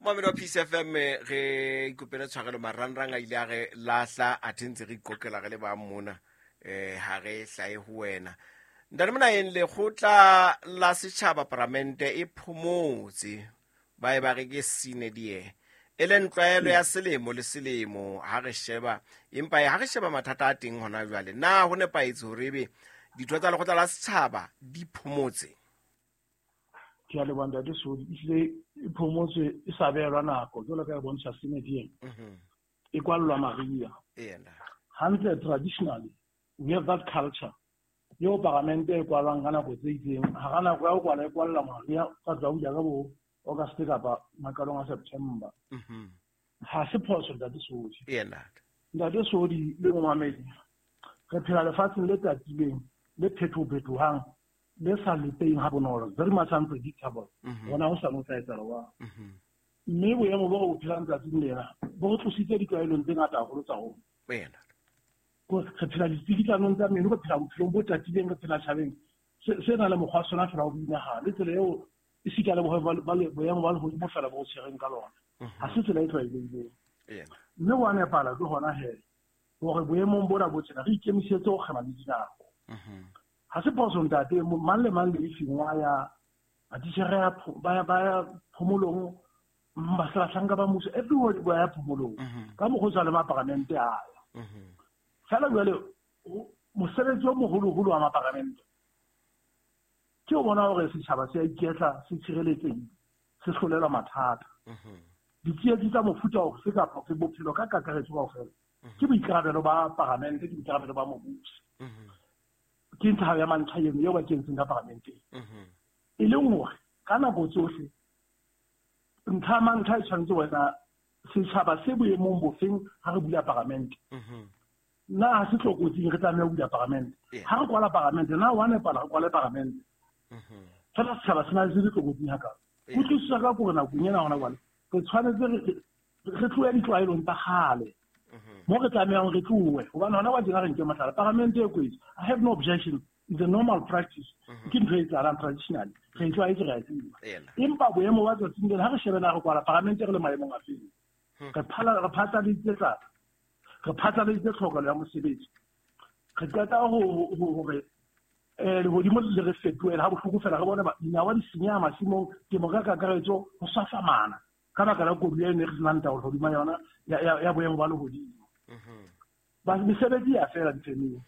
Momamedi wa Peace FM, re ikopele tshwarelo, marangrang a ile a re lahla, athe ntse re iqoqela re le ba mona, ha re hlahe ho wena. Ntate Monaheng, lekgotla la setjhaba paramente e phomotse, ba e ba re ke sine die, e leng tlwaelo ya selemo le selemo ha re sheba, empa ha re sheba mathata a teng hona jwale, na ho nepahetse hore ebe ditho tsa lekgotla la setjhaba di phomotse? Ke a leboha ntate Sodi, ehlile e phomotswe e sa behelwa nako jwalo ka e bontsha sine die. E kwallwa mariha. Hantle traditionally we have that culture eo paramente e kwalwang ka nako tse itseng, hara nako ya ho kwala e kwalla mariha, ka tla bula ka bo August kapa maqalong a September. Ha se phoso ntate Sodi. Ntate Sodi le momamedi, re phela lefatsheng le tatileng, le phethophetohang, le sa lepeng ha bonolo, very much unpredictable. Rona ho sa no tla etsahala jwang. Mme boemo bo re bo phelang tsatsing lena bo re tlositse ditlwaelong tse ngata haholo tsa rona. Re phela ditsikitlwanong tsa meno, re phela bophelong bo tatileng, re phela tjhabeng se nang le mokgwa wa sona fela wa boinahano, le tsela eo esita le boemo ba lehodimo fela bo tshwereng ka lona. Ha se tsela e tlwaelehileng. Mme wa nepala ke hona he hore boemong bona bo tjena re ikemisetse ho kgema le dinako. Ha se phoso ntate, mang le mang le efeng wa ya matitjhere ba ya phomolong, bahlanka ba mmuso, everybody ba ya phomolong. Ka mokgwa o tshwanang le maparamente a ya. Feela jwale mosebetsi o moholoholo wa maparamente ke o bona hore setjhaba se a iketla, se tshireletsehile, se hlolelwa mathata. Ditsietsi tsa mofuta ofe kapa ofe, bophelo ka kakaretso kaofela, ke boikarabelo ba paramente, ke boikarabelo ba mobusi. Ke ntlha ya mantlha eno eo ba kentseng ka paramenteng. E leng hore ka nako tsohle ntlha ya mantlha e tshwanetse wena setjhaba se boemong bofeng ha re bula paramente. Na ha se tlokotsing re tlameha ho bula paramente. Ha re kwala paramente, na wa nepala re kwale paramente. Fela setjhaba se na le se tlokotsing hakalo. Kutlwisiso ka gore nakong ena hona jwale re tshwanetse re tlohe ditlwaelong tsa kgale. Mo re tlamehang re tlohe, hobane hona wa tjena re nke mohlala, paramente e kwetse. I have no objection, it's a normal practice. Ke ntho e etsahalang traditionally, re e tlwaetse, re a tseba. Empa boemo ba tsatsing lena ha re shebe na re kwala paramente re le maemong a feng. Re phatlaladitse tlala, re phatlaladitse tlhokelo ya mosebetsi. Re qeta hore lehodimo le re fetohela ha bohloko fela, re bone dinawa di senyeha masimong, temo ka kakaretso ho swafamana ka baka la koduwa e ne re senang taolo hodima yona ya boemo ba lehodimo. Mesebetsi ya fela difemeng.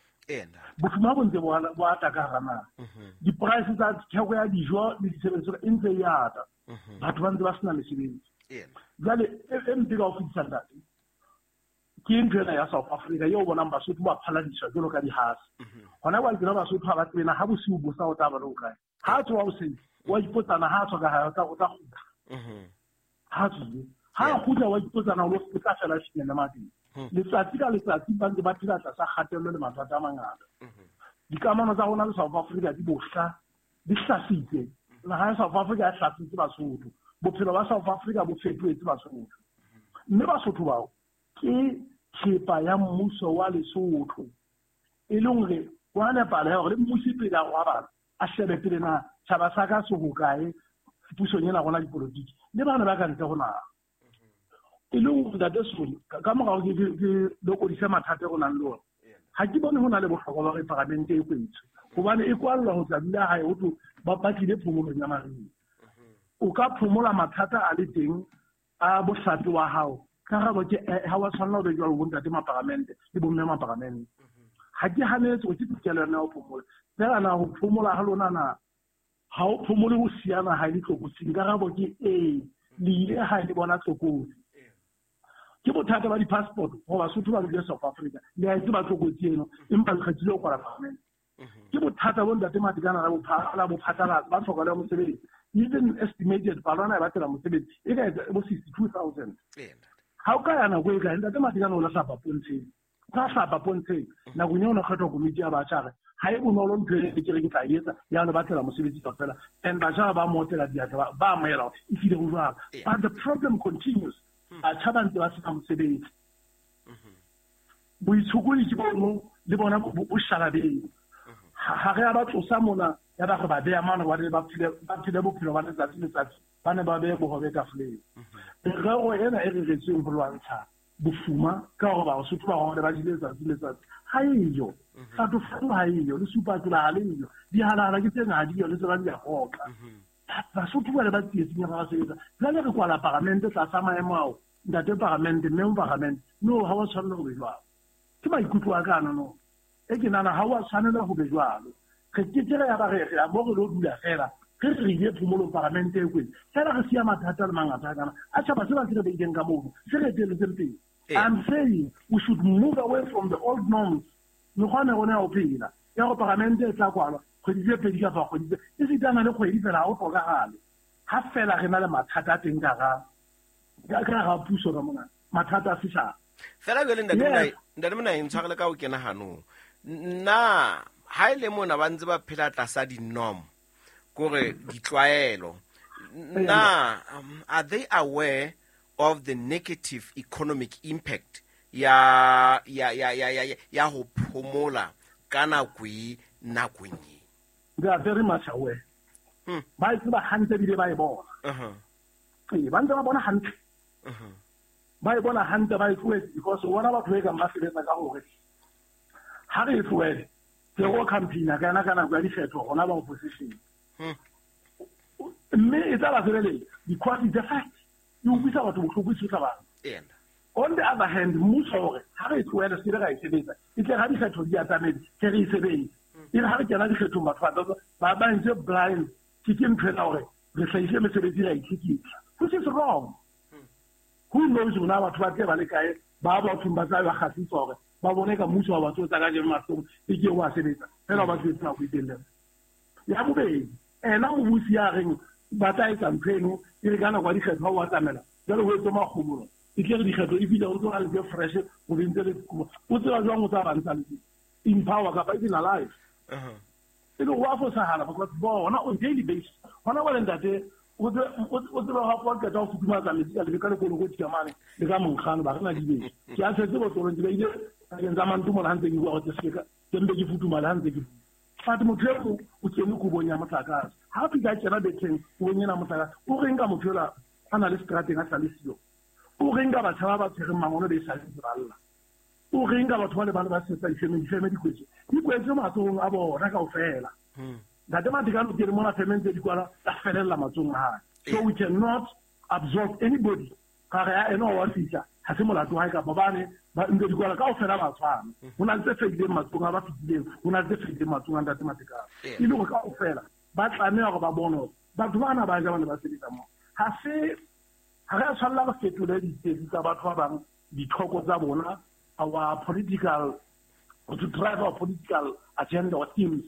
Bofuma bo ntse bo ata ka hara naha. Di-price tsa theko ya dijo le ditshebeletso e ntse e ata. Batho ba ntse ba sena mesebetsi. Jwale e mpe ka ho fetisa ntate, ke ntho ena ya South Africa eo bonang Basotho ba phaladiswa jwalo ka dihase. Hona jwale tsena Basotho ha ba tsebe na ha bosiu bo sa o tla ba le hokae. Ha a tsoha hoseng, wa ipotsana ha a tswa ka hae, o tla kgutla. Ha tswile. Ha a kgutla wa ipotsana o tla fela a finyelle mabedi. Letsatsi ka letsatsi ba ntse ba phela tlasa kgatello le mathata a mangata. Dikamano tsa rona le South Africa di bohla, di hlasitse. Naha ya South Africa e hlasitse Basotho. Bophelo ba South Africa bo fetohetse Basotho. Mme Basotho bao ke thepa ya mmuso wa Lesotho. E leng hore wa nepala ya hore le mmusi pele a robala a shebe pele na tjhaba sa ka se hokae pusong ena rona dipolotiki le bana ba ka ntle ho naha. E leng hore ntate Soli, ka morao ke lokodise mathata e re nang le ona. Ha ke bone ho na le bohlokwa ba hore paramente e kwetswe, hobane e kwallwa ho tla dula hae ho thwe ba tlile phomolong ya mariha. O ka phomola mathata a le teng a bohlape wa hao. Karabo ke ha wa tshwanela ho be jwalo bo ntate maparamente le bomme maparamente. Ha ke hanetse hore ke tokelo ya ho phomola. Fela na ho phomola ha lona na ha o phomole ho siya naha e le tlokotsing? Karabo ke ee, le ile ha le bona tlokotsi. Ke bothata ba di-passport gore Basotho ba dule South Africa. Le a e tseba tlokotsi eno, empa le kgethile ho kwala paramente. Ke bothata bo ntate Matekane la bo phatlalatsa ba tlhokelo ya mosebetsi. Even estimated palo ena e batlela mosebetsi e ka etsa bo 62,000. Ha o ka ya nako e kae ntate Matekane o la hlapa pontsheng. O ka hlapa pontsheng nakong eo o ne kgethwa komiti ya batjha re ha e bonolo ntho e ke re ke tla e etsa ya le batlela mosebetsi kaofela. And batjha ba mo otlela diatla ba amohela hore e hlile ho jwalo. But the problem continues. Batjha ba ntse ba sena mosebetsi. Boitshokodi ke bono le bona bo sharabeng. Ha re a ba tlosa mona Ya ba re ba beya mane ba phele bophelo ba letsatsi letsatsi, ba ne ba beye bohobe tafoleng. Merero ena e reretsweng ho lwantsha bofuma ka hore Basotho ba rona ba jele letsatsi letsatsi ha eyo. Fatofato ha eyo, le supatola ha le eyo, dihalahala ke tse ha di yo, le tsona di a hoka. Basotho ba le ba tsietsing ya ba sebetsa. Jwale re kwala paramente tlasa maemo ao, ntate paramente, mme paramente, no, ha wa tshwanela ho be jwalo. Ke maikutlo a ka no. E ke nahana ha wa tshwanela ho be jwalo. Re ke ke re ya ba re re mo re lo dula fela, re re ile phomolong paramente e kwetse. Fela re siya mathata le mangata kana. A tjhaba se ba se re beileng ka mono, se re etelletseng pele. I'm saying we should move away from the old norms. Mekgwa ne rona ya ho phela. Ya go paramente e tla kwalwa kgwedi tse pedi kapa kgwedi tse e sitana le kgwedi fela ha o tlhokahale. Ha fela re na le mathata a teng ka ga puso ka mona, mathata a setjhaba. Fela jwale ntate Mona e ntshwarele ka ho kena hanong. Nna ha ile mona ba ntse ba phela tlasa di-norm, kore ditlwaelo. Na are they aware of the negative economic impact ya ho phomola ka nako e nakong e? They are very much aware. Ba e tseba hantle ebile ba e bona. Ee, ba ntse ba bona hantle. Ba e bona hantle, ba e tlohetse because o bona batho e kang ba sebetsa ka hore ha re e tlohele, ke go campaign-a ka yona ka nako ya dikgetho rona ba opposition. Mme e tla ba sebeletsa because it's a fact. E utlwisa batho bohloko, e tshosa batho. On the other hand, mmuso hore ha re e tlohele se re e sebetsa, e tle ha dikgetho di atametse, ke re e sebetse. E re ha re kena dikgethong batho ba ntse blind, ke ntho ena hore re hlahise mesebetsi ra itlhekisa, which is wrong. Who knows rona batho ba tle ba le kae, ba bathong ba tla ba kgahlisa hore ba bone ka mmuso wa batho tsa kajeno mahlong e ke wa sebetsa fela ba sebetsa nako e telele. Ya bobedi, ena mobusi ya reng ba tla etsa ntho eno e re ka nako ya dikgetho ha o atamela, jwale ho etswe makgobolo, e tle re dikgetho e fihla o ntso na le tse fresh ho be ntse le o tseba jwang o tsa ba ntsa le in power kapa even alive. E le ho a fosahala because bona on daily basis hona jwale ntate o tseba ha o qeta ho futumatsa metsi ka le ka lekolokoti ka mane le ka monkgano ba re na dibese. Ke a tshetse botlolong ke beile pakeng tsa mantomola ha ntse ke bua hore ke seka ke mpe ke futumale ha ntse ke bua. But motho eo o kene kobong ya motlakase, ha a fihla a kena betheng kobong ena motlakase, o reng ka motho ela a na le seterateng a sa le siyo? O reng ka batjha ba ba tshwereng mangolo be sa le ba lla? O reng ka batho ba le ba le ba sebetsa difemeng, difeme di kwetswe? Di kwetswe matsohong a bona kaofela. Ntate Matekane o kene mona femeng tse di kwala tsa felella matsohong a hae. So we cannot absolve anybody. Ka re ya ena wa fihla, ha se molato wa hae kapa bane ba ntse di kwala kaofela ba tshwana. Ho na le tse fedileng matsohong a ba fetileng, ho na le tse fedileng matsohong a Ntate Matekane. E le hore kaofela ba tlameha hore ba bone hore batho bana ba ja ba ne ba sebetsa moo. Ha se ha re a tshwanela re fetole ditsebi tsa batho ba bang, dithoko tsa bona, our political, to drive our political agenda or themes.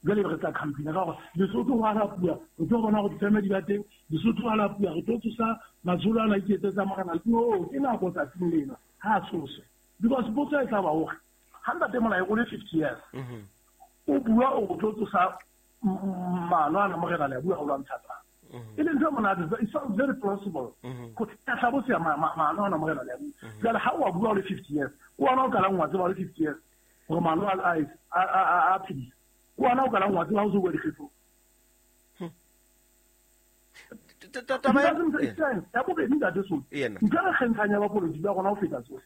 Jwale re tla campaign ka hore Lesotho ho halapuwa, re tlo bona hore difeme di ba teng, Lesotho ho halapuwa, re tlo tsosa matsholo ana a iketsetsa morena. No, ke nako tsatsing lena, ha a tshoswe. Because potso e tla ba hore ha Ntate Molai o le 50 years, o bua o tlo tsosa maano ana morena le a bua ho lwantsha tsa. E leng ntho e monate, it sounds very plausible. Go tlhabosa maano ana morena le a bua. Jwale ha o bua o le 50 years, o ona o qalang wa tseba o le 50 years hore maano a phedisa. O ona o qalang wa tseba ha o se bua dikgetho. Ya bobedi Ntate Sotho, ntho e re kgentshang ya bapolotiki ba rona ho feta tsohle.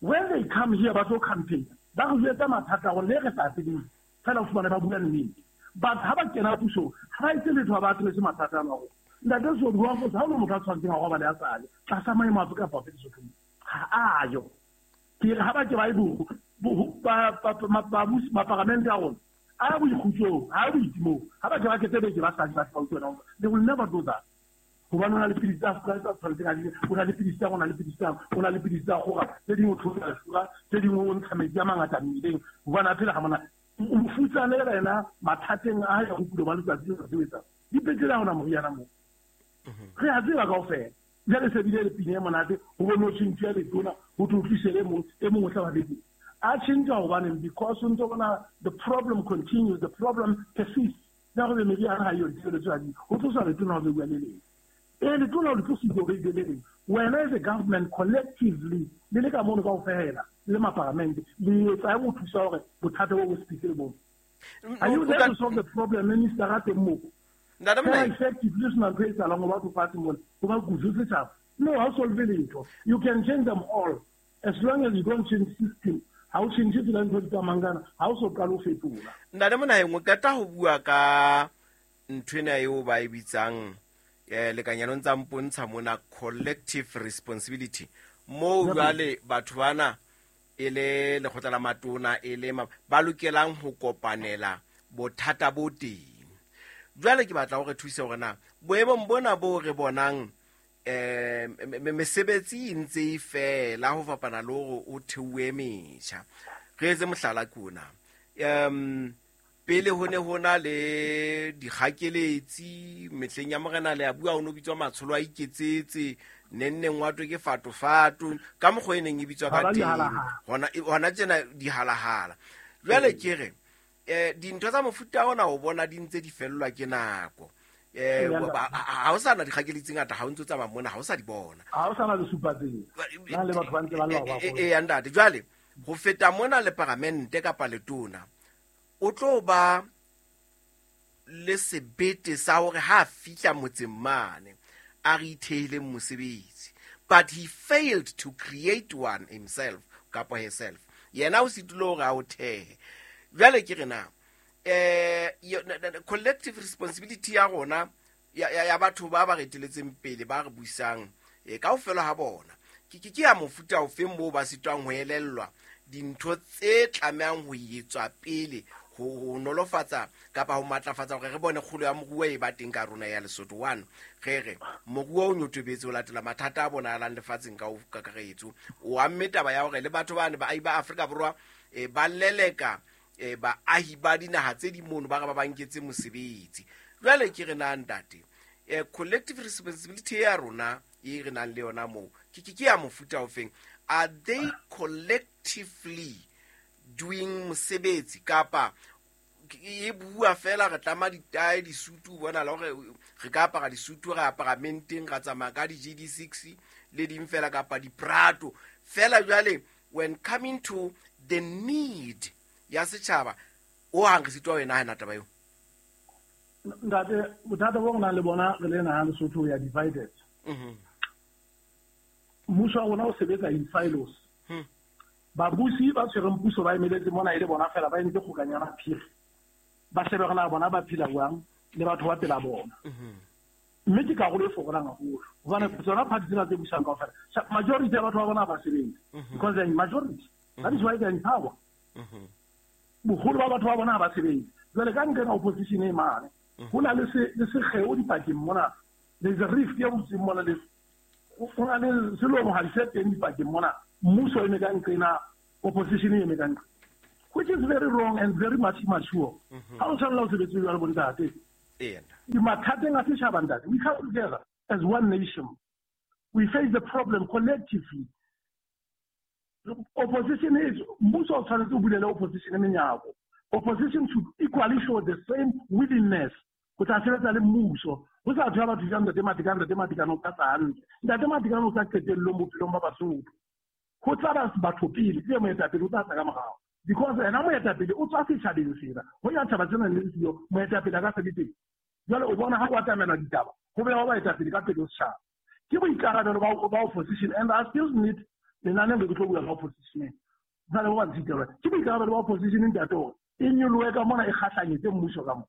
When they come here ba tlo campaign, ba re jwetsa mathata a rona le re sa tsebeng, fela o fumane ba bua nnete. But ha ba kena pusong, ha ba etse letho, ha ba address mathata ana rona. Ntate Sotho, wa fosa, ha o le motho a tshwanetseng a robale a sale tlasa maemo afe kapa afe Lesothong, ha a yo. Ke re ha ba ke ba e babusi maparamente a rona a boikgutsong, ha boitimong, ha ba ke ba kete beke ba sa di ba utlwa. They will never do that. Hobane o na le pilisi tsa Afrika tsa tshwanetseng a di, o na le pilisi tsa, o na le pilisi tsa, o na le pilisi tsa kgora, tse dingwe o theosa lefura, tse dingwe o ntsha metsi a mangata mmeleng, hobane a phela ga mona. O mofutsana yena mathateng a hae a bophelo ba letsatsi le letsatsi o etsa. Dipetlele ha hona moriana moo. Re a tseba kaofela. Jwale se bile le pina e monate, ho bone ho tjhentjha letona, ho tlo tlise e mong, e mong o tla ba beke. A tjhentjha hobaneng? Because o ntso bona the problem continues, the problem persists. Ya gore meriana ha eyo, ditshebeletso ha di, ho tloswa letona ho beuwa le leng. E letona ho le tlositse ho beile le leng. Wena as a government collectively, le le ka mono kaofela, le maparamente, le etsa ho thusa hore bothata bo bo se fihle le bone. Are you there to solve the problem, Minister a teng moo? Ntate Fela Monaheng. effectively ho sena ntho e etsahalang ho batho fatshe mona, ho ba kudu setjhaba. No, ha o solve letho. You can change them all. As long as you don't change system, ha o change tsela ntho di tsamayang ka yona, ha o so qale ho fetola. Ntate Monaheng, o qeta ho bua ka nthwena eo ba e bitsang lekanyano ntsa mpontsha mona collective responsibility. Moo jwale batho bana e le lekgotla la matona e le ba lokelang ho kopanela bothata bo teng. Jwale ke batla hore thuse hore na boemong bona bo re bonang mesebetsi e ntse e fela ho fapana le hore o theohe metjha. Re etse mohlala ke ona. Pele ho ne ho na le dikgakeletsi mehleng ya morena le a bua ho no bitswa matsholo a iketsetse nenneng wa twe ke fatofato ka mokgwa e neng e bitswa ka Ha ba teng. dihalahala. Hona tjena dihalahala. Jwale ke re dintho tsa mofuta ona o bona di ntse di fellwa ke nako. Ha o sa na dikgakeletsi tse ngata, ha o ntso tsamaya mona, ha o sa di bona. Ha o sa na le supa tsela. Na le batho ba ntse ba lla ba bona. Ya ntate, jwale ho feta mona le paramente kapa letona o tlo ba le sebete sa hore ha a fihla motseng mane a re ithehileng mosebetsi, but he failed to create one himself kapa herself. Yena o sitile hore a o thehe. Jwale ke re na collective responsibility ya rona ya batho ba ba reteletseng pele ba re busang kaofela ha bona ke ya mofuta ofeng moo ba sitwang ho elellwa dintho tse tlamehang ho etswa pele ho nolofatsa kapa ho matlafatsa hore re bone kgolo ya moruo e ba teng ka rona ya Lesotho. One, re re moruo o nyotobetse ho latela mathata a bonahalang lefatsheng ka ho kakaretso. O amme taba ya hore le batho bane baahi ba Afrika Borwa ba leleka baahi ba dinaha tse ding mono ba re ba ba nketse mosebetsi. Jwale ke re na ntate, collective responsibility ya rona e re nang le yona moo ke ya mofuta ofeng? Are they collectively doing mosebetsi kapa e bua fela re tlama ditae disutu bona la hore re ka apara disutu re apara menteng ra tsamaya ka di GD6 le ding fela kapa di-Prato fela? Jwale when coming to the need ya setjhaba o hang re sitwa ho e nahana taba eo. Ntate, bothata bo re nang le bona re le naha Lesotho, we are divided. Mmuso wa rona o sebetsa in silos. Babusi ba tshwereng puso ba emeletse mona e le bona fela ba entse kgokanyana phiri. Ba shebe hore na bona ba phela jwang le batho ba pela bona. Mme ke karolo e fokolang haholo. Hobane tsona party tsena tse busang kaofela, majority ya batho ba bona ha ba sebetse. Because they are in majority. That is why they are in power. Boholo ba batho ba bona ha ba sebetse. Jwale ka nqena opposition e mane, ho na le sekgeo dipakeng mona. There is a rift e butseng mona le ho na le selomohadi se teng dipakeng mona. Mmuso o eme ka nqena, opposition e eme ka nqena, which is very wrong and very much immature. Ha o tshwanela ho sebetse jwalo bo ntate. Mathateng a setjhaba ntate, we come together as one nation. We face the problem collectively. Opposition is, mmuso o tshwanetse o bulele opposition menyako. Opposition should equally show the same willingness ho tla sebetsa le mmuso. Ho sa thwe batho jang Ntate Matekane, Ntate Matekane o tla tla hantle. Ntate Matekane o tla qetellong bophelong ba Basotho. Ho tla ba batho pele, ke moetapele o tla tla ka morao. Because ena moetapele o tswa setjhabeng sena. Ho ya tjhaba tsena le siyo, moetapele a ka se be teng. Jwale o bona ha o atamela ditaba, ho beha baetapele ka pele ho setjhaba. Ke boikarabelo ba opposition, and I still need lenaneo le ke tlo bua ka opposition. Jwale ho ba ntshitelwa. Ke boikarabelo ba opposition ntate hore e nyolohe ka mona e kgahlanyetse mmuso ka mona.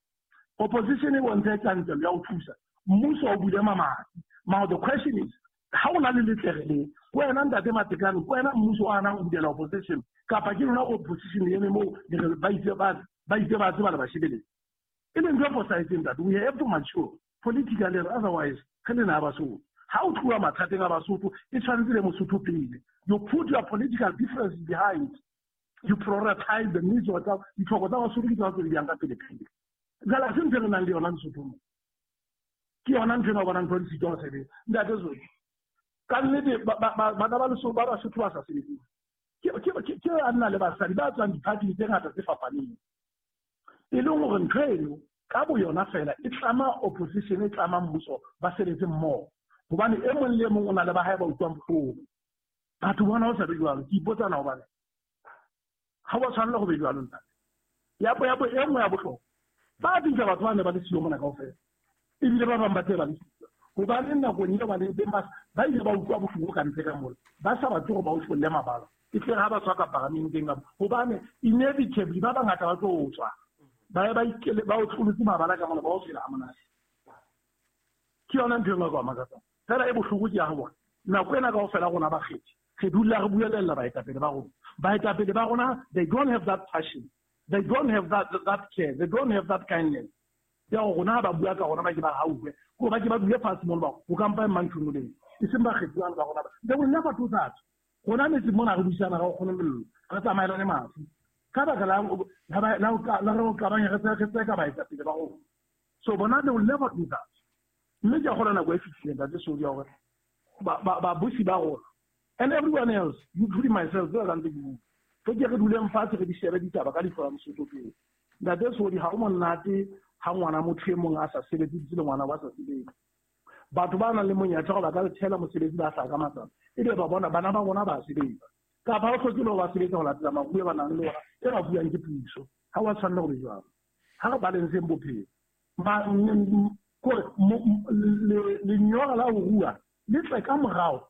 Opposition e bontshe tjantjello ya ho thusa. Mmuso o bule mamati. Now the question is, ha o na le letlere le, wena Ntate Matekane, wena mmuso o hanang ho bulela opposition, kapa ke lona opposition e eme moo le re ba itse ba, ba itse ba tseba le ba shebeletse. E leng ntho e fosahetseng ntate. We have to mature politically, otherwise re le naha Basotho. Ha o tloha mathateng a Basotho, e tshwanetse le Mosotho pele. You put your political differences behind. You prioritize the needs of the ditlhoko tsa Basotho ke tsona tse di yang ka pele pele. Jwale ha se ntho e re nang le yona Lesotho mo. Ke yona ntho ena o bonang ntho di sitwa ho sebetsa. Ntate Zoli, ka nnete bana ba Lesotho ba Basotho ba sa sebetseng. Ke banna le basadi ba tswang di-party tse ngata tse fapaneng. E leng hore ntho eno ka bo yona fela e tlama opposition, e tlama mmuso ba sebetse mmoho. Hobane e mong le e mong o na le ba hae ba utlwang bohloko. Batho bona ho sa be jwalo, ke ipotsa na hobane ha wa tshwanela ho be jwalo ntate. Ya e nngwe ya bohlokwa, ba bitsa batho ba ne ba le siyo mona kaofela, ebile ba bang ba tse ba le siyo hobane nakong eo ba leng teng ba ile ba utlwa bohloko ka ntle ka mola, ba sa batle hore ba otlolle mabala. E tle ha ba tswa ka paramenteng ka hobane inevitably ba bangata ba tlo tswa, ba ye ba ikele ba otlolotse mabala ka mola, ba o phela ha monate. Ke yona ntho e nngwe e ka makatsang fela e bohloko ke ya ho bona nako ena kaofela rona bakgethi re dula re buelella baetapele ba rona. Baetapele ba rona, they don't have that passion, they don't have that care, they don't have that kindness ya gore rona ha ba bua ka rona ba ke ba hauwe, ko ba ke ba dule fatshe mono ba go kampa e mang leng e seng bakgethi bana ba rona. They will never do that. Rona metse mona re buisana ga o kgone mello, re tsamaelane mafu ka baka la re o qabanya re tseka baetapele ba rona. So bona, they will never do that. Mme ke a kgona nako e fihlileng, Ntate Sodi, ya hore babusi ba rona and everyone else, including myself, jwalo ka ntse ke bua, re ke re duleng fatshe re di shebe ditaba ka leihlo la Mosotho pele. Ntate Sodi, ha o monate ha ngwana motho e mong a sa sebetse le ngwana wa sa sebetse. Batho ba nang le monyetla gore ba ka thela mosebetsi ba hlaka matsatsi, ebe ba bona bana ba bona ba sebetsa, kapa ha o hloke le ho ba sebetsa ho latela maruo ba nang le ona e ba buang ke puso. Ha wa tshwanela go be jwalo. Ha re balanceng bophelo. Kore lenyora la ho rua le tle ka morao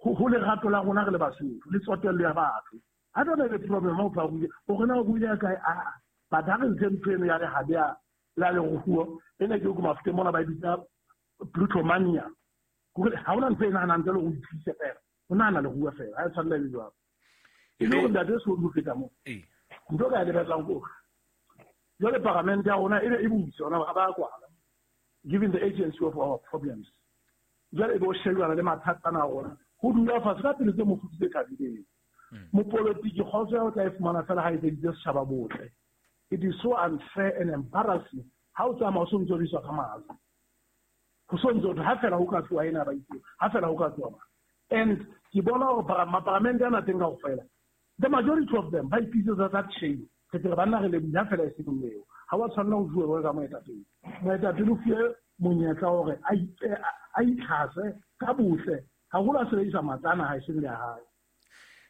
ho lerato la rona re le Basotho le tsotello ya batho. I don't have a problem ha o fa ruile hore na o ruile kae, a but ha re ntse ntho eno ya lehabe ya la leruo ena ke ko Mafuteng mona ba e bitsa plutomania, hore ha hona ntho e nahanang ntle le ho ithuse fela, o nahana leruo fela, ha e tshwanela e be jwalo. E le hore Ntate Sodi, ho feta moo, ntho ka e lebellang ke hore jwale paramente ya rona e be e butse hona ha ba kwala, given the agency of our problems, jwale e be o shebana le mathata ana a rona, ho dula fatshe ka pelo tse mofuthu tse thabileng. Mopolotiki kgotso ya o tla e fumana fela ha etseditse setjhaba botle. It is so unfair and embarrassing ha o tsamaya o so ntso riswa ka matla, ho so ntso ha fela ho ka tloha ena ba itse, ha fela ho ka tloha. And ke bona hore maparamente ana teng kaofela, the majority of them ba ipitsetsa that shame. Re tle re banna re lebohile ha fela e seng eo. Ha wa tshwanela ho fuwe ka moetapele. Moetapele o fuwe monyetla hore a itlhase ka botle, haholo a sebedisa matla ana ha e seng le ya hae.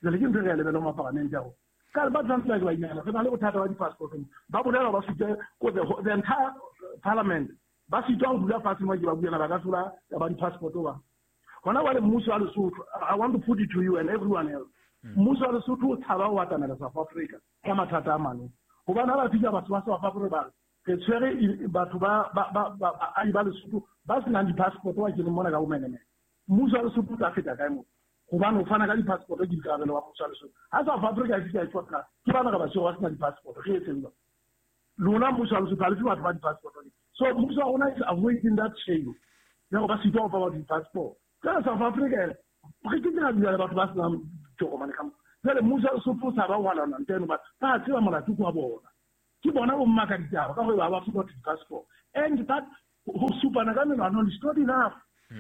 Jwale ke ntho e re ya lebellang maparamente a rona. Ka ba tshwanetse ba ke ba inahana, re na le bothata ba di-passport. Ba bolela ba sutwe ko the entire parliament, ba sitwa ho dula fatshe mo ke ba buana ba ka hlola ba di-passport ba. Hona jwale mmuso wa Lesotho, I want to put it to you and everyone else, mmuso wa Lesotho o tshaba ho atamela South Africa ka mathata a mane, hobane ha ba fihla batho ba South Africa ba re tshwere batho ba baahi ba Lesotho ba senang di-passport ba keneng mona ka bomenemene. Mmuso wa Lesotho o tla feta kae moo? Hobane ho fana ka di-passport ke boikarabelo ba mmuso wa Lesotho. Ha South Africa e fihla e tshwara ke bana re ba tshwere ba sena di-passport, re etseng jwang? Lona mmuso wa Lesotho ha le fe batho ba di-passport. So mmuso wa rona is avoiding that shame ya gore ba sitwa ho fa batho di-passport. Jwale South Africa re ke ke ra dula le batho ba senang ditokomane ka mo. Jwale mmuso wa Lesotho o tshaba ho lwana ntho eno, ba tseba molato ke wa bona. Ke bona bo mmaka ditaba ka gore ba ba fe batho di-passport. And that ho supana ka menwana is not enough.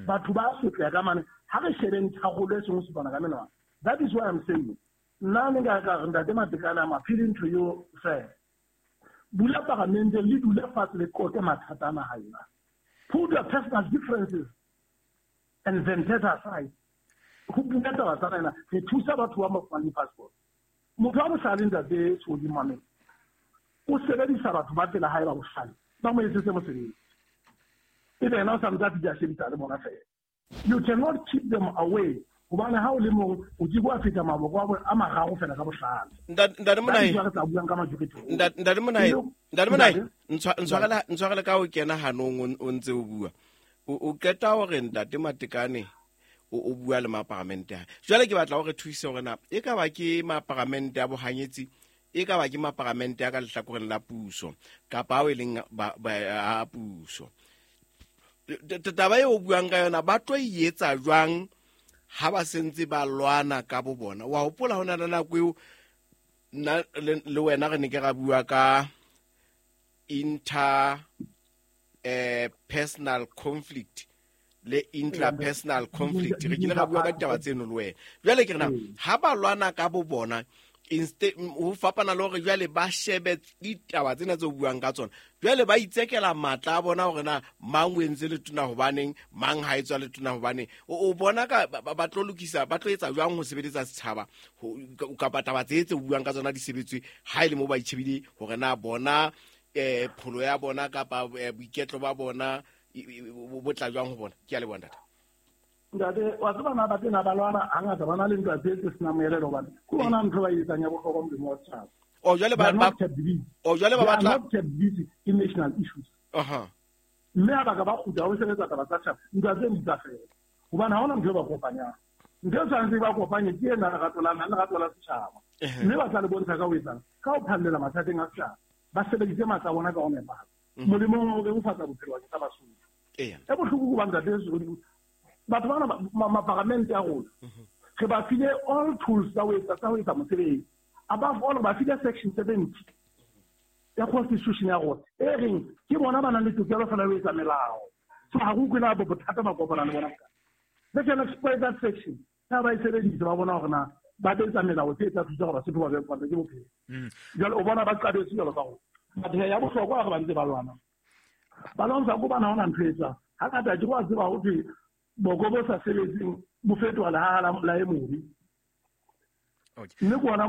Batho ba sotleha ka mane, ha re shebeng tharollo e seng ho supana ka menwana. That is why I'm saying, nna ne nka ka re Ntate Matekane, I'm appealing to you, sir. Bula paramente le dule fatshe le qoqe mathata a naha ena. Put your personal differences and vendetta aside. Ho bua taba tsa ena, re thusa batho ba ba di-passport. Motho wa bohlale, Ntate Sodi Mamela, o sebedisa batho ba pela hae ba bohlale, ba mo etsetse mosebetsi. Ebe yena o sa ntse a fihla a shebisa le bona fela. You cannot keep them away, hobane ha o le mong o ke wa feta maboko a mararo fela ka bohlale. Ntate Monai, re tla buang ka majority. Ntate Monai, Ntate Monai, ntshwarela ka o kena hanong o ntse o bua. O qeta hore Ntate Matekane o bua le maparamente a. Jwale ke batla hore thuse hore na e ka ba ke maparamente a bohanyetsi, e ka ba ke maparamente a ka lehlakoreng la puso kapa ao e leng a puso. Taba eo o buang ka yona ba tlo e etsa jwang ha ba sentse ba lwana ka bo bona? Wa hopola ho na le nako eo nna le wena re ne ke ra bua ka inter personal conflict le intrapersonal conflict, re kile ra bua ka ditaba tseno le wena. Jwale ke re na ha ba lwana ka bo bona Instead ho fapana le hore jwale ba shebe ditaba tsena tse o buang ka tsona, jwale ba itsekela matla a bona hore na mang o entse letona hobaneng, mang ha etswa letona hobaneng. O bona ka ba tlo lokisa, ba tlo etsa jwang ho sebeletsa setjhaba kapa taba tse tse o buang ka tsona di sebetswe ha e le mo ba itjhebile hore na bona pholo ya bona kapa boiketlo ba bona bo tla jwang ho bona. Ke a leboha ntate. Ntate, wa tseba na ba tena ba lwana hangata ba na le ntwa tse tse senang moelelo hobane ke bona ntho ba e etsang ya bohlokwa molemo wa setjhaba. O jwale ba o jwale ba batla not kept busy in national issues. Mme ha ba ka ba kgutla ho sebetsa taba tsa setjhaba, ntwa tse di tla fela. Hobane ha hona ntho e ba kopanyang. Ntho e tshwanetse ba kopanye ke ena lerato la naha, lerato la setjhaba. Mme ba tla le bontsha ka ho etsang, ka ho phallela mathateng a setjhaba. Ba sebedise matla a bona ka ho nepahala. Molemong wa ho bebofatsa bophelo bakeng sa Basotho. E bohloko ho ba ntate batho bana maparamente a rona re ba file all tools tsa ho etsa mosebetsi. Above all, ba file section 70 ya constitution ya rona e reng ke bona ba nang le tokelo fela ho etsa melao. So ha go kwena bo bothata ba kopana le bona. They can exploit that section. Ha ba e sebedisa ba bona hore na ba etsa melao tse tla thusa gore Basotho ba be kwatsa ke bophelo. Jwale o bona ba qabetse jwalo ka rona. Batho ya bohlokwa hore ba ntse ba lwana. Ba lwantsha ko bana hona ntho e etsang. Hangata ke wa tseba ho thwe boko bo sa sebetseng bo fetoha lehaha la e mobe. Mme ke ona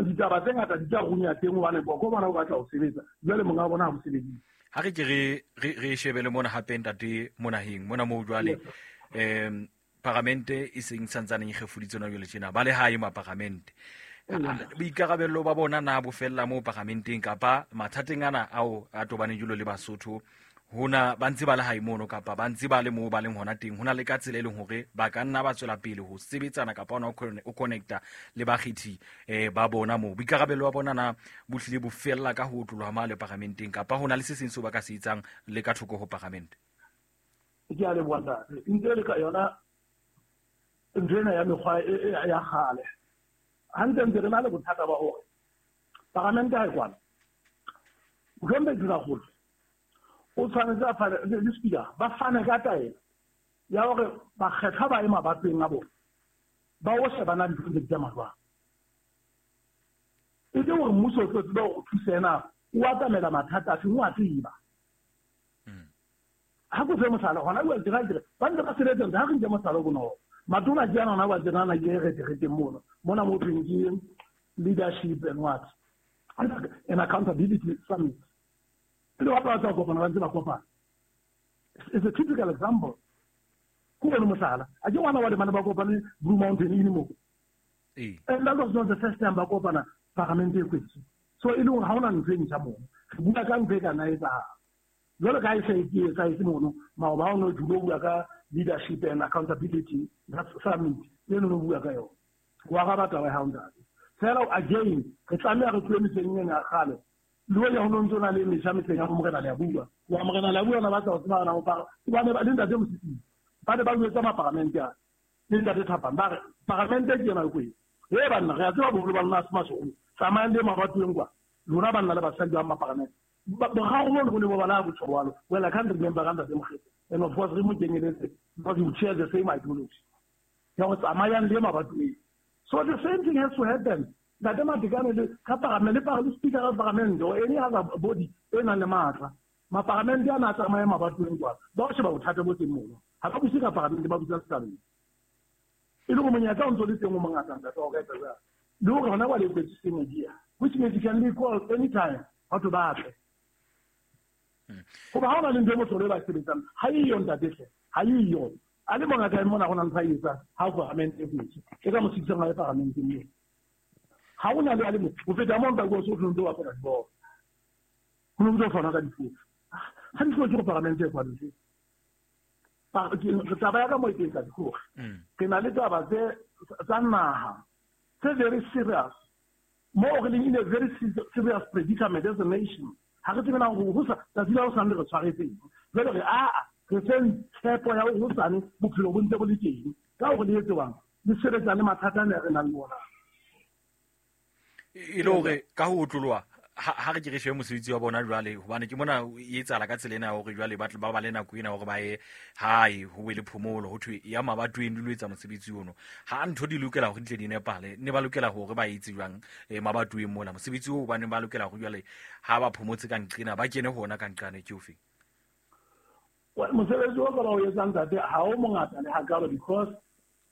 ditaba tse ngata di tla runya teng hobane boko bona bo batla ho sebetsa. Jwale monga bona ha bo sebedise. Ha re ke re shebele mona hape ntate Monaheng mona moo jwale paramente e seng santsaneng e kgefuditse hona jwale tjena ba le hae maparamente. Boikarabello ba bona na bo fella moo paramenteng kapa mathateng ana ao a tobaneng jwalo le Basotho hona ba ntse ba le hae mono kapa ba ntse ba le moo ba leng hona teng, hona le ka tsela e leng hore ba ka nna ba tswela pele ho sebetsana kapa hona o connecta le bakgethi ba bona moo. Boikarabello ba bona na bo hlile bo fella ka ho otloloha male paramenteng kapa hona le se seng seo ba ka se etsang le ka thoko ho paramente? Ke a leboha ntate. Ntse le ka yona ntho ena ya mekgwa ya kgale. Hantle ntse re na le bothata ba hore paramente ha e kwana. Mohlomong Tonakgolo o tshwanetse a fane le speaker ba fane ka taelo ya hore bakgethwa ba ye mabatoweng a bona ba o shebana dintho tse di tsamaya jwang. E le hore mmuso o tlo tseba hore o thuse ena o atamela mathata a feng, o a tseba. Ha ko fe mohlala hona jwale tjena ke re ba ntse ba sebetsa ntse ha re nke mohlala o bonolo. Matona ke ana hona jwale tjena na ke re mono. Mona mo thweng ke leadership and what? And accountability summit. Le wa ba tsa kopana ba ntse ba kopana. It's a typical example. Ko bona mohlala. A ke ngwana wa le bana ba kopane Blue Mountain ene mo. And that was not the first time ba kopana paramente e kwetse. So e le hore ha hona ntho e ntjha mono. Re bua ka ntho e ka nna etsahala. Jwalo ka ha e se e etsahetse mono, maoba o no dula o bua ka leadership and accountability summit e no bua ka yona. Wa araba taba ya hao ntate. Fela again re tlameha re tlohe mehleng ena ya kgale. Le hoja ho no ntso na le metjha mehleng ya Morena Leabua. Wa Morena Leabua ona batla ho tseba hore na hobane ba le ntate Mosisili ba ne ba jwetsa maparamente a le ntate Thapang ba re paramente ke ena e kwetse. He banna re a tseba boholo ba lona ha se mashodu. Tsamayang le mabatoweng kwa. Lona banna le basadi ba maparamente. Boraro bo bo ne bo bala botjho jwalo. Well, I can't remember ka ntate Mokgete. And of course re mo kenyeletse because you share the same ideology. Ya ho tsamayang le mabatoweng. So the same thing has to happen. Ntate Matekane le ka paramente le speaker ya paramente or any other body e nang le matla. Maparamente ana a tsamaye mabatoweng kwa. Ba o sheba bothata bo teng mono. Ha ba buse ka paramente ba busa setjhabeng. E le hore monyetla o ntso le teng o mongata ntate wa ka etsa jwang. Le hore hona jwale e kwetse media, which means you can be called anytime batho ba tle. Hoba ha hona le ntho e mohlolo e ba sebetsang, ha eyo ntate hle, ha eyo. A le mongata mona hona ntho a e etsang ha paramente e kwetse. E ka mo sitisang ha e paramenteng moo. Ha hona le a le mong. Ho feta moo ntate o so ntse o bapala dibolo. Ho no ntse o fana ka difofu. Ha di hloke go paramente e kwaletswe. Taba ya ka mo e teng ke hore re na le taba tse tsa naha tse very serious. Mo re leng in a very serious predicament as a nation. Ha re tsebe na hore ho sa tsatsi la hosane re tshwaretseng. Jwale re a re feng tshepo ya hore hosane bophelo bo ntse bo le teng. Ka hore le etsewang le sebetsa le mathata a re nang le ona. E le hore ka ho otloloha Ha re ke re shebe mosebetsi wa bona jwale, hobane ke mona e etsahala ka tsela ena ya hore jwale ba tle ba ba le nako ena hore ba ye hae, ho be le phomolo, ho thwe ya mabatoweng di lo etsa mosebetsi ono. Ha ntho di lokela hore di tle di nepahale, ne ba lokela hore ba etse jwang mabatoweng mona? Mosebetsi oo ba neng ba lokela hore jwale ha ba phomotse ka nqena, ba kene ho ona ka nqane ke ofe? Mosebetsi o ka ba o etsang ntate ha o mongata le hakalo, because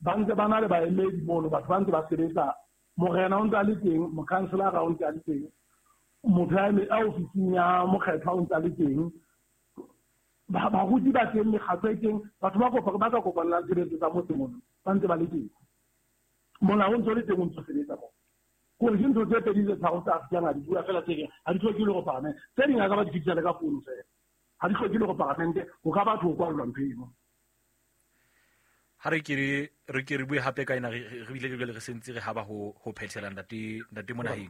ba ntse ba na le baemedi mono, batho ba ntse ba sebetsa, morena o ntse a le teng, mokhanselara o ntse a le teng, motho a ofising ya mokgethwa o ntse a le teng, baruti ba teng, mekgatlo e teng, batho ba ka kopanelang tshebetso tsa motse mono ba ntse ba le teng. Molao o ntse o le teng, o ntse o sebetsa moo. Kore ke ntho tse pedi tse tharo tsa Afrika di bua fela tse ding ha di hloke le go paramente, tse ding a ka ba di fetisa le ka founu fela, ha di hloke le go paramente, ho ka batho ho kwallwa ntho eno. Ha re ke re bue hape ka ena, re bile re jwale re sentse re haba ho phethela ntate Monaheng.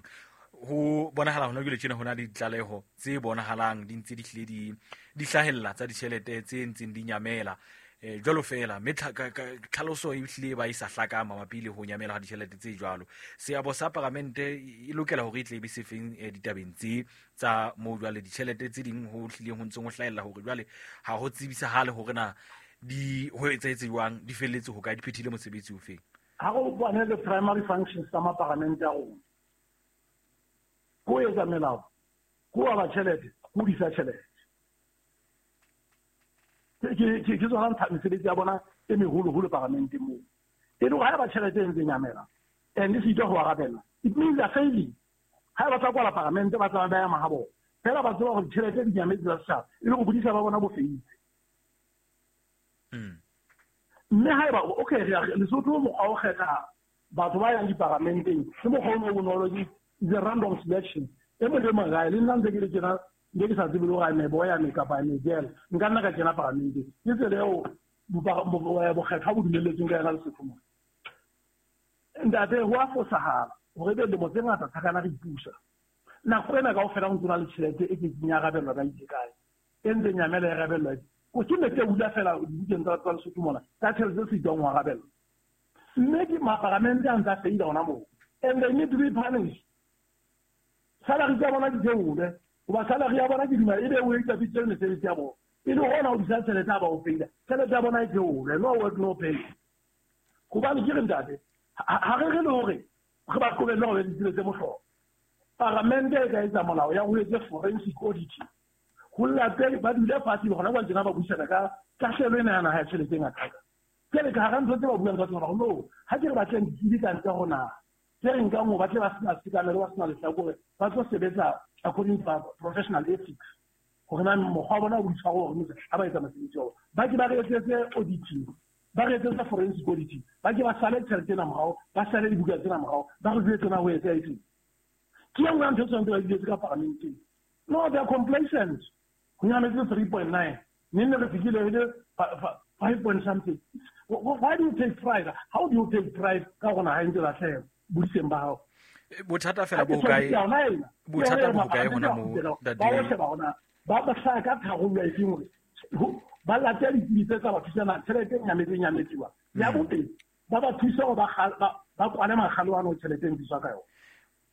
Ho bonahala hona jwale tjena ho na le ditlaleho tse bonahalang di ntse di hlile di hlahella tsa ditjhelete tse ntseng di nyamela jwalo fela, mme tlhaloso e hlile ba e sa hlaka mabapi le ho nyamela ha ditjhelete tse jwalo. Seabo sa paramente e lokela hore e tle e be sefeng ditabeng tse tsa moo jwale ditjhelete tse ding ho hlileng ho ntseng ho hlahella hore jwale ha ho tsebisahale hore na di ho etsahetse jwang, di felletse ho kae, di phethile mosebetsi ofeng. Ha go bone the primary functions tsa maparamente a rona, ko etsa melao, ko aba tjhelete, ko disa tjhelete. Ke tsona mesebetsi ya bona e meholoholo paramenteng moo. E le hore ha eba tjhelete e ntse nyamela and e sitwa ho arabella, it means they are failing. Ha ba tla kwala paramente, ba tla ba ya mahabo fela, ba tseba hore ditjhelete di nyametse tsa setjhaba, e le go bodisa ba bona bo feitse. Mme ha eba okay, Lesotho mokgwa o kgetha batho ba yang diparamenteng ke mokgwa o bonolo, ke the random selection. E mong le mong gae, le nna ntse ke le tjena, nke ke sa tsebe le hore I'm a boy, I'm a kapa I'm a girl, nka nna ka kena paramenteng. Ke tsela eo bokgethwa bo dumelletsweng ka yona Lesotho mona. Ntate, ho a fosahala hore ebe lemo tse ngata thakana re ipusa. Nako ena kaofela ho ntso na le tjhelete e kekeng ya arabellwa ka itse kae, e ntse nyamela e arabellwa. Ko ke ne ke hula fela dibukeng tsa Lesotho mona, ka tjhelete tse sitwang ho arabellwa. Mme ke maparamente a ntse a feila hona moo, and they need to be punished. Salary tsa bona di theolwe, hoba salary ya bona ke duma ebe o etsa bitse mesebetsi ya bona, e le hona ho disa tjhelete ha ba o feila, tjhelete ya bona e theolwe, no work no pay. Hobane ke re ntate, ha re re le hore re ba qobelle hore ba tse mohlolo. Paramente e ka etsa molao ya ho etse forensic auditing, ho late ba dule fatshe hona jwale tjena ba buisana ka tahlehelo ena ya naha ya tjhelete e ngata. Jwale ka hara ntho tse ba buang ka tsona, hore no, ha ke re batleng ditsebi ka ntle ho naha, tse re nkang hore ba tle ba sena sekamelo, ba sena lehlakore, ba tlo sebetsa according to professional ethics, hore na mokgwa wa bona o boitshwaro hore motse ha ba etsa mosebetsi wa bona. Ba ke ba re etsetse auditing, ba re etsetse forensic auditing, ba ke ba sale tjhelete ena morao, ba sale dibuka tsena morao, ba re jwetse na ho etsa etseng. Ke e nngwe ya ntho tse tshwanetse ba di etse ka paramenteng. No, they are complacent. Ho nyametse 3.9, neng ne re fihlile re le 5 point something. Why do you take pride? How do you take pride ka hore naha e ntse lahleha bodiseng ba hao? Bothata fela bo kae? Bothata bo kae hona moo, ntate? Ba o sheba hona, ba hlaya ka tharollo e feng hore ba late ditsebi tse tsa ba thusana, tjhelete e nyametse nyametsiwa. Ya bobedi, ba ba thuse hore ba kwale makgalo ano tjhelete e ntsiswa ka yona.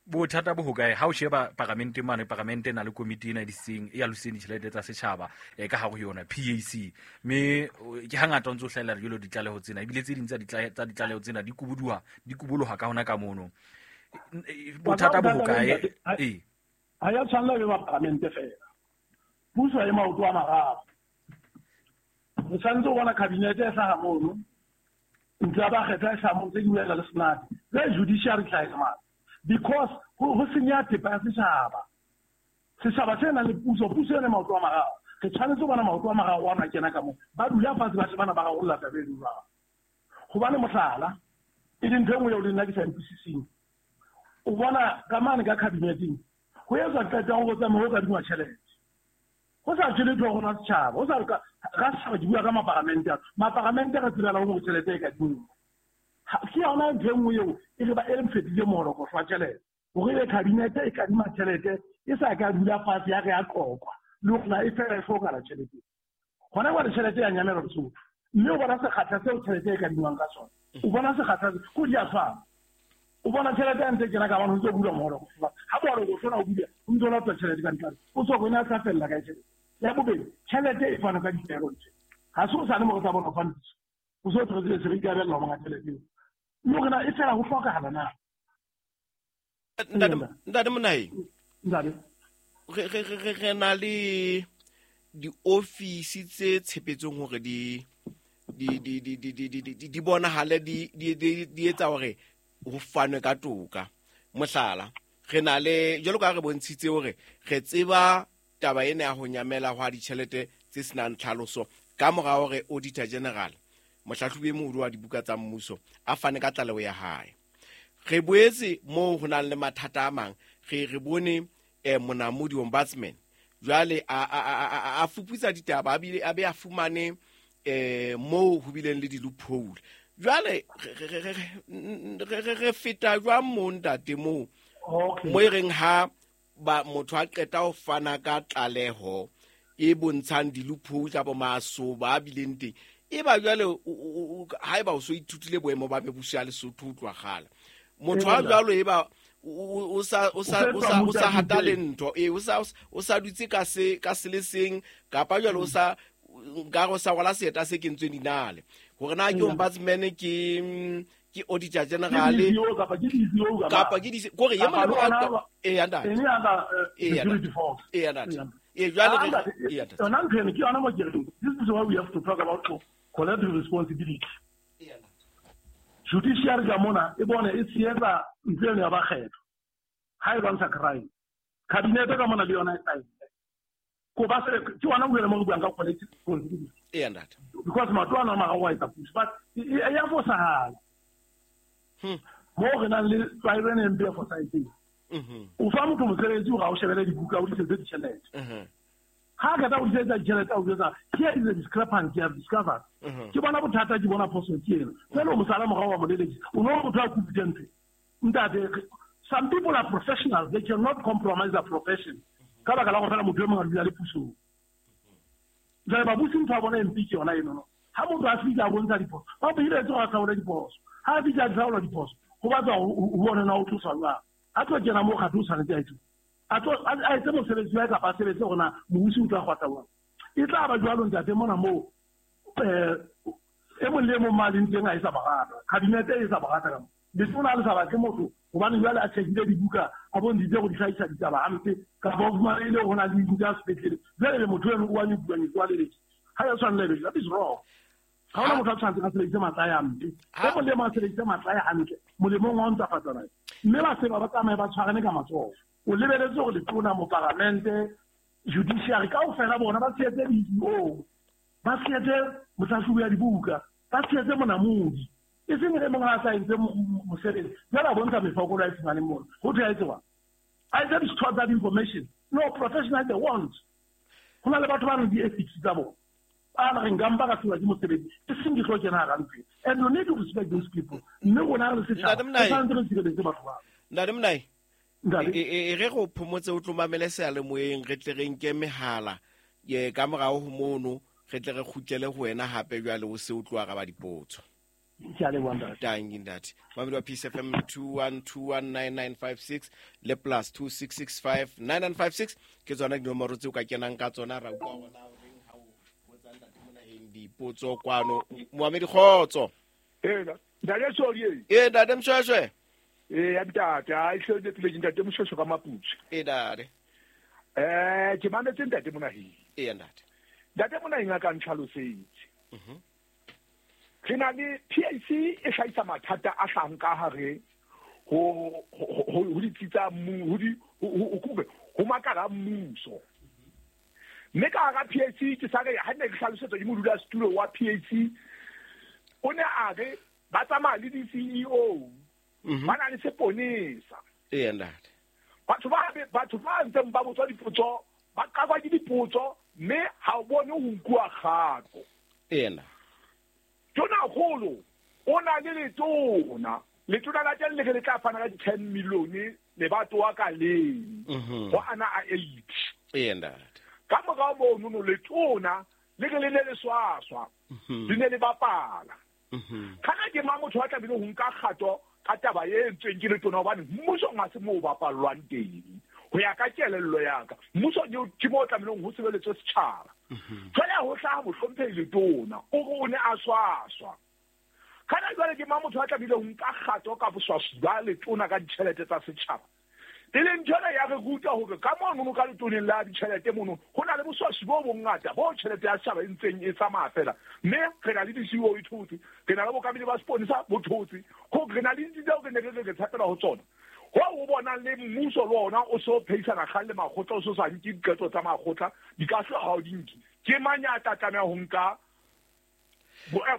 Bothata bo hokae ha o sheba paramente mane, paramente e na le komiti ena e diseng, e aloseng ditjhelete tsa setjhaba ka hare ho yona PAC, mme ke hangata o ntso hlahella jwalo ditlaleho tsena, ebile tse ding tsa ditlaleho tsena di kuboloha ka hona ka mono. Bothata bo hokae? Ee, ha ya tshwanela be ba paramente fela, puso e maoto a mararo. Re tshwanetse ho bona kabinete e hlaha mono, ntlo ya bakgethwa e hlaha mono, tse di buela le senate, le judiciary hlaha mane. Because ho senya thepa ya setjhaba. Setjhaba se nang le puso, puso ena maoto a mararo. Re tshwanetse ho bona maoto a mararo ana kena ka moo. Ba dula fatshe ba shebana ba rarolla taba e jwalo. Hobane mohlala, e leng ntho e nngwe eo le nna ke sa utlwisiseng. O bona ka mane ka kabineteng, ho etswa qeto ya hore ho tsamaye ho kadingwa tjhelete. Ho sa tswe letho ho rona setjhaba, ho sa re ka setjhaba ke bua ka maparamente a. Maparamente re tsebela hore tjhelete e kadingwa. Ke yona ntho e nngwe eo e re ba e re mfetile moholokotlo wa tjhelete. Hore ebe kabinete e kadima tjhelete e sa ka dula fatshe ya re ya qoqwa, le hore na e fela e hlokahala tjhelete. Hona jwale tjhelete ya nyamela Lesotho. Mme o bona sekgahla seo tjhelete e kadingwang ka sona. O bona sekgahla ko di a tshwana. O bona tjhelete ya ntse kena ka bana ho ntse bulwa moholokotlo. Ha bolo go sona o bile o ntse o lata tšhelete ka ntlane o tswa go ena a tla fella ka tšhelete ya bobedi tšhelete e fana ka dipego tse ga se o sane mo go tsa bona fana o so tlogetse se re ikarabella go monga tšhelete eo le gore na e fela go tlhokagala na. Ntate Monaheng, ntate re na le diofisi tse tshepetseng hore di bonahale di etsa hore ho fanwe ka toka. Mohlala, re na le jwalo ka re bontshitse hore re tseba taba ena ya ho nyamela hwa ditjhelete tse senang tlhaloso ka mora hore Auditor General mohlahlobi e moholo wa dibuka tsa mmuso a fane ka tlaleho ya hae. Re boetse moo ho nang le mathata a mang, re bone monamodi ombudsman jwale a fuputsa ditaba a bile a be a fumane moo ho bileng le di-loophole. Jwale re feta jwang moo ntate moo mo e reng ha ba motho a qeta ho fana ka tlaleho e bontshang di-loophole kapa masoba a bileng teng, e ba jwale haeba o so ithutile boemo ba mebuso ya Lesotho ho tloha kgale, motho a jwalo e ba o sa hata le ntho o sa dutse ka se le seng kapa jwale o sa nkare o sa rwala seeta se kentsweng dinale hore na ke ombudsman ke Auditor General kapa ke di kore ye mong e ya ntate e ya ntate e jwale re ya ntate yona ntho eno ke yona mo ke reng this is why we have to talk about collective responsibility. Judiciary ka mona e bone e tshehetsa ntho eno ya bakgetho ha e lwantsha crime. Cabinet ka mona le yona e saene ko ba se ke wona o mo re buang ka collective responsibility. E ntate because matlo ana a mararo a etsa puso but e ya fosahala mo re nang le tlwaelo ena e mpe e fosahetseng. O fa motho mosebetsi hore a o shebele dibuka o disetse ditjhelete. Ha a qeta ho disetsa ditjhelete a o jwetsa here is a discrepancy I have discovered. Ke bona bothata ke bona phoso ke ena. Jwale o mosala morao wa mo lelekisa o no motho a competent. Ntate, some people are professionals, they cannot compromise their profession. Ka baka la go fela motho e mongwe a dula le pusong. Jwale babusi ntho ya bona e mpe ke yona eno no. Ha motho a fihla a bontsha diphoso, ba mo hiretse gore a hlaole diphoso. Ha a fihla a hlaola diphoso, ho batla ho bone na o tloswa jwang. A tlo kena mo kgatho o tshwanetse a etse. A tlo a etse mosebetsi wa hae kapa a sebetse hore na mobusi o tla kgwatha jwang. E tla ba jwalo ntate mona moo e mong le e mong ma leng teng a e sa ba rata. Cabinet e sa ba rata ka mo. Letona le sa batle motho hobane jwale a checkile dibuka a bontshitse go di hlahisa ditaba hampe kapa o fumanehile ho na le dintho tsa sepetlele. Jwale le motho eno o wa nyubuanyetso wa leleki. Ha ya tshwanela ebe, that is wrong. Ha hona motho a tshwanetseng a sebedise matla a hampe. E mong le mong a sebedise matla a hantle molemong wa ho ntlafatsa naha. Mme ba seba ba tsamaye ba tshwarane ka matsoho. O lebeletse hore letona, moparlamente, judiciary kaofela bona ba tshehetse di-CEO, ba tshehetse mohlahlobi ya dibuka, ba tshehetse monamodi. E seng e mong ha a sa entse mosebetsi jwale a bontsha mefokolo a e fumaneng mona. Ho thwe a etse jwang? A etse di-store tsa information. No, professional they want. Ho na le batho ba nang le di-ethics tsa bona. Ba re nka mpa ka hlolwa ke mosebetsi e seng ke tlo kena hara ntlo ena. And you need to respect those people. Mme rona re le setjhaba Ntate re tshwanetse re sireletse batho bao. Ntate Monai, Ntate. E re go phomotse o tlo mamele seyalemoyeng re tle re nke mehala ye ka morao ho mono re tle re kgutlele ho wena hape jwale o se o tlo araba dipotso. Ke a leboha ntate. Tanki ntate. Mamedi wa Peace FM 21219956 le plus 26659956 ke tsona dinomoro tseo ka kenang ka tsona ra utlwa hore na o reng ha o botsa ntate Monaheng dipotso kwano. Moamedi kgotso. Ee, ntate Soli. Ee, ntate Mshweshwe. Ee, ya ntate, ha e hlole pele ntate Mshweshwe ka Maputsu. Ee, ntate. Ke mametse ntate Monaheng. Ee, ntate. Ntate Monaheng a ka ntlhalosetse. Re na le PAC e hlahisa mathata a hlahang ka hare ho ditsi tsa ho di ho makala a mmuso. Mme ka hara PAC ke sa re ha ne ke hlalosetswa ke modulasetulo wa PAC o ne a re ba tsamaya le di-CEO ba na le seponesa. Ee, ntate. Batho ba ntseng ba botswa dipotso ba qakwa ke dipotso mme ha o bone ho nkuwa kgato. Ee, ntate. Tonakgolo o na le letona. Letona la teng le re le tla fana ka di-10 million lebatowa ka leng ho ana a 8. Ee, ntate. Ka morao mono no letona le re le ne le swaswa, le ne le bapala. Kana ke mang motho a tlamehile ho nka kgato ka taba e entsweng ke letona, hobane mmusong ha se moo bapallwang teng. Ho ya ka kelello ya ka, mmuso ke moo tlamehileng ho sebeletswe setjhaba. Jwale ho hlaha mohlomphehi letona, o re o ne a swaswa. Kana jwale ke mang motho a tlamehile ho nka kgato ka boswaswi ba letona ka ditjhelete tsa setjhaba? E leng ntho ena ya re ruta hore ka mono ka letoneng la ditjhelete mono ho na le boswaswi bo bongata bo tjhelete ya setjhaba e ntseng e tsamaya fela. Mme re na le di-CEO e thotse, re na le bokamedi ba seponesa bo thotse, re na le ditsi tseo re ne re re tshepela ho tsona. Ho o bonang le mmuso le ona o so phehisana kgang le makgotla, o so sa nke diqeto tsa makgotla, di ka hlwa ha o di nke. Ke mang ya tla tlameha ho nka a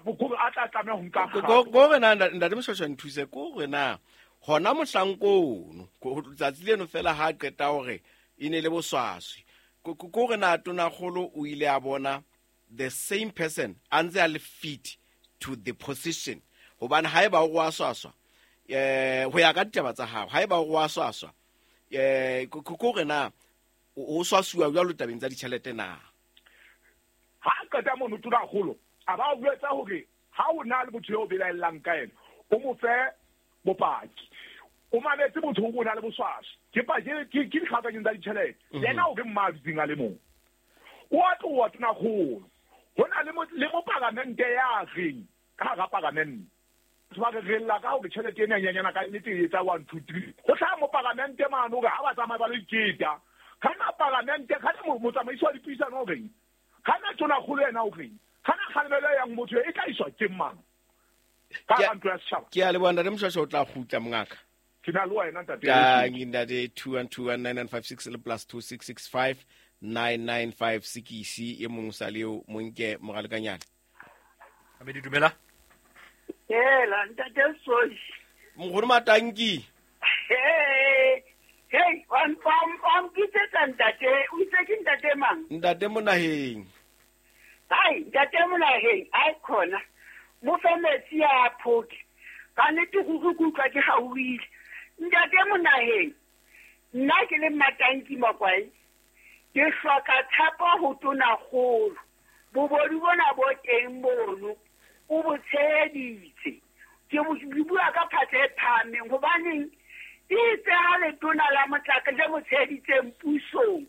tla tlameha ho nka kgato? Ko re na ntate Moshwashwa nthuse, ko re na hona mohlankono tsatsi leno fela ha qeta hore e ne le boswaswi, ko re na tonakgolo o ile a bona the same person a ntse a le fit to the position, hobane haeba o wa swaswa ho ya ka ditaba tsa hao, haeba o wa swaswa ko re na o swasuwa jwalo tabeng tsa ditjhelete na? Ha qeta mono tonakgolo a ba o jwetsa hore ha o na le motho eo belaellang ka yena, o mo fe bopaki. O mametse motho o na le boswaswi, ke paki ke dikgakanyong tsa ditjhelete, yena o ke mma dutseng a le mong. O a tloha tonakgolo, ho na le mopalamente ya reng ka hara palamente. Batho ba re re lla ka hore tjhelete ena e nyenyana ka nnete e etsa 1 2 3. Ho hlaha mopalamente mane hore ha ba tsamaye ba lo iketa. Kana palamente, kana motsamaisi wa dipuisano o reng? Kana tonakgolo yena o reng? Kana kgalemelo e yang motho e tla iswa ke mang? Ka ntlo ya setjhaba. Ke a leboha ntate Moshwashwa, o tla kgutla mongaka. Ke na le wena ntate. Tangi ntate 21219956 le plus 26659956 e mong sa leo monke moralekanyana. Amedi dumela. Hela ntate Soshi. Mokgolo Matanki. Hey, hey, wa mpitsetsa ntate, o itse ke ntate mang? Ntate Monaheng. Hai, ntate Monaheng, ai khona. Mo fe metsi a phoke. Ka nnete go utlwa ke gauhile. Ntate Monaheng, nna ke le Matanki Makwai, ke hloka tshepo ho tonakgolo. Bobodu bona bo teng mono, o bo tsheheditse. Ke bua ka phatla e phahameng, hobaneng itse ha letona la motlaka le mo tsheheditseng pusong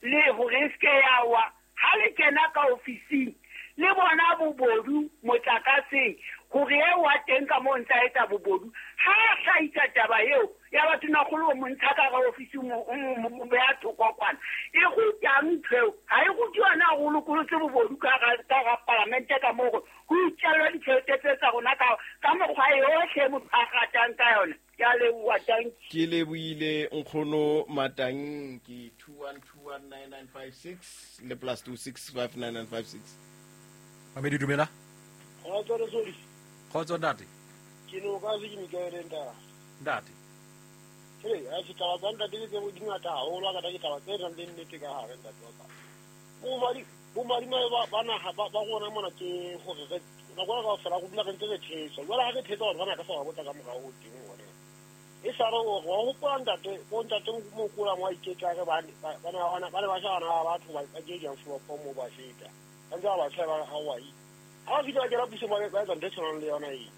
le hore e se ke ya wa, ha le kena ka ofising le bona bobodu motlakaseng hore e wa teng ka moo ntsa etsa bobodu. Ha a hlahisa taba eo ya batho tonakgolo o mo ntsha ka hara ofisi mo beha thoko kwana. E rutang ntho eo? Ha e rute yona hore o lokolotse bobodu ka hara palamente ka moo hore ho itjellwa ditjhelete tse tsa rona ka mokgwa yohle motho a ratang ka yona. Ke a leboha, tanki. Ke lebohile nkgono Matanki. 21219956 le plus 2659956. Mamedi dumela. Kgotso le Sodi. Kgotso ntate. Ke no ka se ke Mikaele ntate. Ntate. Hey, a se taba tsa ntate ke tse di ngata haholo, ka ke taba tse nang le nnete ka hare ntate wa ka. Bo madima ba naha ba rona mona ke hore re nako ka fela go dula re ntse re thetsa. Jwale ha re thetsa batho bana ka sa ba botsa ka morao ho teng hore. E sa re o wa hopola ntate, bo ntate Mokola mo a iketla re ba ne ba shebana ba batho ba ke jang flopo mo ba feta. Ba ntse ba tsheba ha wa i. Ha fihla ke la puso ba etsa ntho e tshwanang le yona e.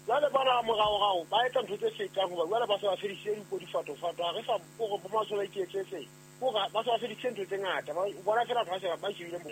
Jwale bana moraorao ba etsa ntho tse fetang hoba jwale ba se ba fedisitse dipo difatofato, ha re sa hore bo masole a iketsetse, hore ba se ba fedisitse ntho tse ngata, ba bona fela batho ba se ba shebile mo.